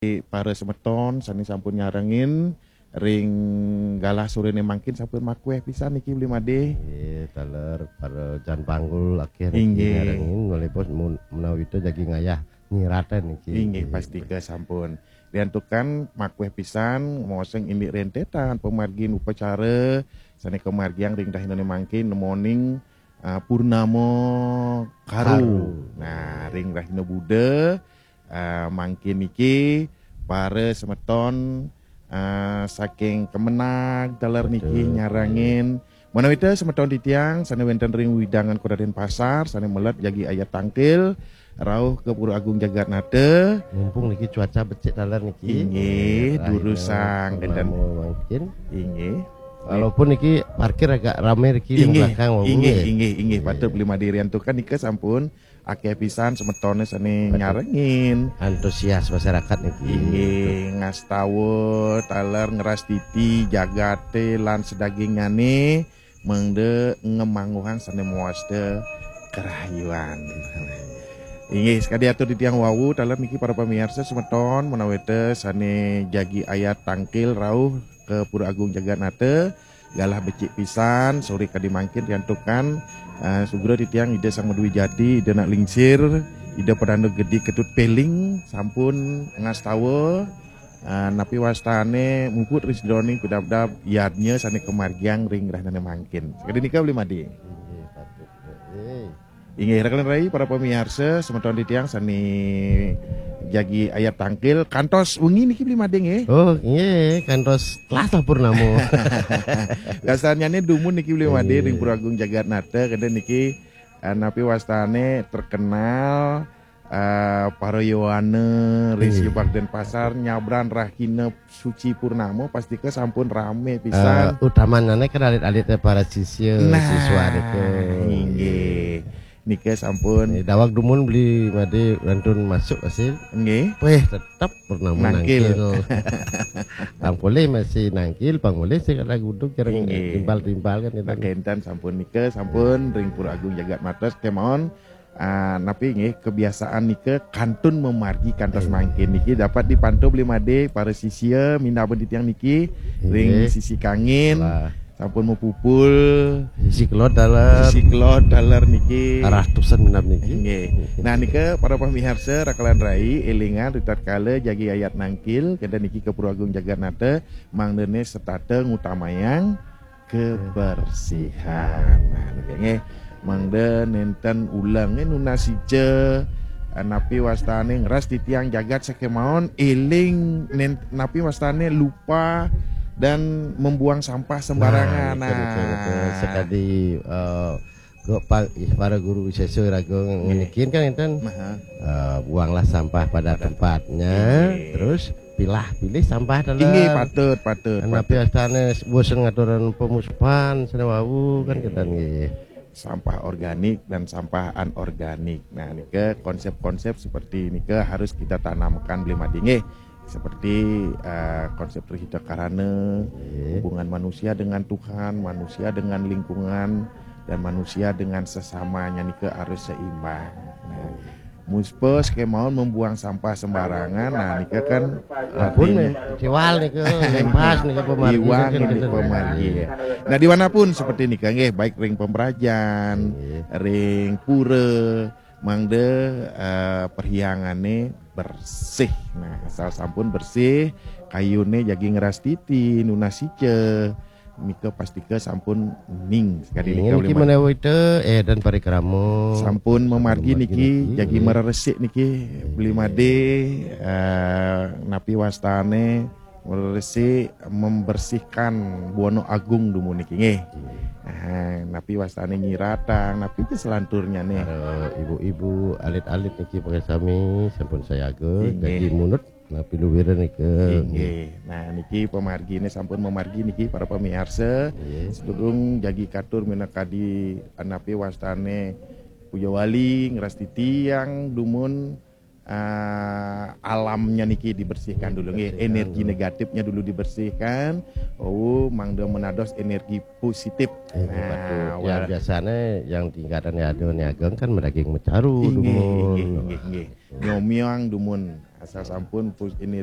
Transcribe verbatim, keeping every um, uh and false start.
Para semeton sané sampun nyarengin ring galah soréné mangkin sampun makuéh pisan niki Bli Madé. Nggih, taler para jan panggul akéh niki, inggih, nyarengin, walaupun mun-, menawi itu jagi ngayah nyiratén niki. Inggih, nggih, pastika sampun. Diantukan makuéh pisan, moseng indik rentetan pamargin upacara sané kamargiang ring rahinané mangkin, nemoning, ah, Purnama Karu. Karu. Nah, ring rahina Buda, ah, mangkin niki para semeton, ah, saking Kemenag taler niki, betul, nyarengin. Manawita semeton titiang sané wénten ring wewidangan Kota Denpasar, sané meled jagi ayat tangkil rauh ka Pura Agung Jagatnata. Mumpung niki cuaca becik taler niki. Inggih, rahina durusang, purnama énten mangkin. Inggih. Walaupun niki parkir agak ramé niki di, inggih, belakang, wau, inggih, nggih, inggih, inggih, inggih, patut Bli Madé, diantukan nika sampun akéh pisan semetoné sané, betul, nyarengin. Antusias masyarakat niki. Inggih, ngastawa taler ngrastiti jagaté lan sedagingnyané, mangda ngamangguhang sané mawasta karahayuan. Inggih, sakadi atur titiang wau, taler niki para pamiarsa semeton, manawita sané jagi ayat tangkil rauh ka Pura Agung Jagatnata, galah becik pisan, soré kadi mangkin diantukan, eh, sugra titiang Ida Sang Madwijati, Ida Anak Lingsir, Ida Pedanda Gedi Ketut Peling, sampun ngastawa, eh, napi wastané muput ring sajeroning pidabdab yadnya sané kamargiang ring rahinané mangkin. Sakadi nika Bli Madé. Inggih, patut. Eh. Inggih, raka lan rai para pamiarsa, semeton titiang sané jagi ayat tangkil, kantos wengi niki Bli Madé nggih. Oh, nggih, kantos telas lah purnama. Dasarnyané dumun niki Bli Madé, nggih, ring Pura Agung Jagatnata, kénten niki, eh, napi wastané terkenal, eh, para yowana ring, nggih, Siubagung Denpasar nyabran rahina suci purnama, pastika sampun ramé pisan. Eh, utamanya kan alit-alit para sisya, nah, siswa nika. Inggih. Nika sampun. Nggih, daweg dumun Bli Madé kantun masuk hasil. Nggih. Wéh, tetep purnama nangkil. Nangkil. Pang polih masih nangkil, pang polih sing ada gudug, jarang, inggih, timpal-timpal kan itu. Nah, kénten sampun nika, sampun ring Pura Agung Jagatnata kémaon. Ah, napi nggih, kebiasaan nika kantun mamargi kantos, eh, mangkin niki dapat dipantau Bli Madé para sisya minab titiang niki, inggih, ring sisi kangin. Lah. Sampun mapupul. Sisi kelod taler. Sisi kelod taler niki. Karahayuan minab niki. Nggih. Nah, nika para pamiarsa, raka lan rai, élingang ritatkala jagi ayat nangkil, kénten niki ka Pura Agung Jagatnata, mangdané setata ngutamayang kebersihan. Nah, niki nggih. Mangda nénten ulengé nunas ica, eh, napi wastané ngrastitiang jagat sakémaon, éling nén-, napi wastané lupa dan membuang sampah sembarangan. Nah, betul, betul, betul. Nah. Sekadi, eh, ke pa-, ih, para guru wisésa raga, nggih, ngenikin kan énten, aha, eh, buanglah sampah pada, pada tempatnya, nggih, terus pilah-pilih sampah taler. Inggih, patut, patut, napi, patut, wastané bosen ngaturan pemuspan, sané wau kan, nggih, kénten nggih. Sampah organik dan sampah anorganik. Nah, nika konsep-konsep seperti nika harus kita tanamkan Bli Madé nggih. Seperti, eh, konsep Tri Hita Karana, nggih, hubungan manusia dengan Tuhan, manusia dengan lingkungan, dan manusia dengan sesamanya nika harus seimbang. Nah, muspa sakémaon membuang sampah sembarangan, nah, nika kan ampun, artinya, eh, siwal nika, lempas nika pamargi, iwang nika, ini nika pamargi, ya. Nah, dimanapun seperti nika nggih, baik ring pemerajan, nggih, ring pura, mangda, eh, perhyangané bersih. Nah, asal sampun bersih, kayuné jagi ngrastiti, nunas ica, nika pastika sampun ning. Sakadi ning nika niki Bli Madé. Manawita, eh, dan parikrama. Sampun mamargi, mamargi niki, niki, jagi, nggih, mareresik niki, nggih, Bli Madé, eh, napi wastané mareresik, membersihkan Buana Agung dumun niki nggih. Nggih. Nah, napi wastané nyiratang, napi ja selanturnyané. Para ibu-ibu, alit-alit niki pangé sami sampun sayaga, nggih, jagi munut napi luwira nika. Inggih. Nah, niki pamarginé sampun mamargi niki para pamiarsa. Nggih. Sadurung jagi katur minakadi napi wastané Puja Wali ngrastiti tiang dumun, eh, alamnya niki dibersihkan dulu nggih. Dibersihkan dulu. Energi negatifnya dulu dibersihkan. Oh, mangda menados energi positif. Inggih, nah, patut. Ya, wala- biasanya yang tingkatan ya ada niaga kan madaging macaru, inggih, dumun. Inggih, inggih, inggih. Nyomyang dumun. Asal sampun pus-, ini